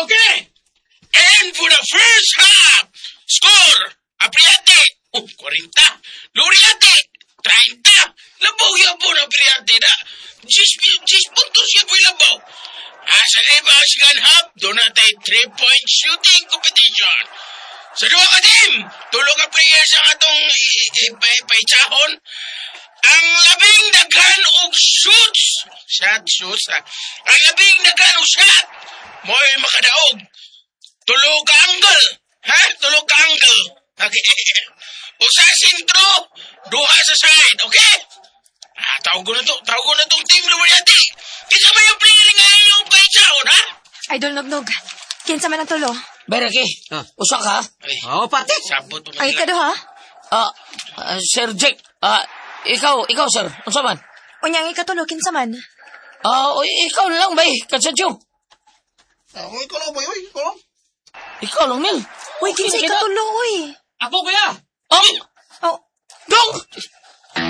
Okay. And for the first half, score, Apriate, oh, 40. Luriate, 30. Labaw yan po na Apriate na. 10 puntos yan po labaw. Sa diba, second half, doon na tayo 3-point shooting competition. Sa duha ka team, tulo ka players ang atong paitsahon. Ang labing daghan og shoots, shot, shoots, ha. Ang labing daghan og shot, mo'y makadaog. Tulo ka angle, ha? Tulo ka angle. Okay. Usa sentro, duha sa side, okay? Ah, tawag ko na to, tawag ko na tong team Lumariati. Kinsa ba yung player nga inyong paitsahon, ha? Idol Nognog, kinsa man ang tulo? Bereki, usa ka? Ay, Oh, pati. Sabot mo Ay, ikaduha? Sir Jack, ikaw sir, unsa man? Unya ang ikatulo, kinsa man? Oy, ikaw na lang bay, Kasadyo. Ako, ikaw lang, boy. Uy, ikaw lang. Ikaw lang, Mel. Uy, kinsa Okay, ikatulo, uy? Ako, kuya. Oh, Oh, dong!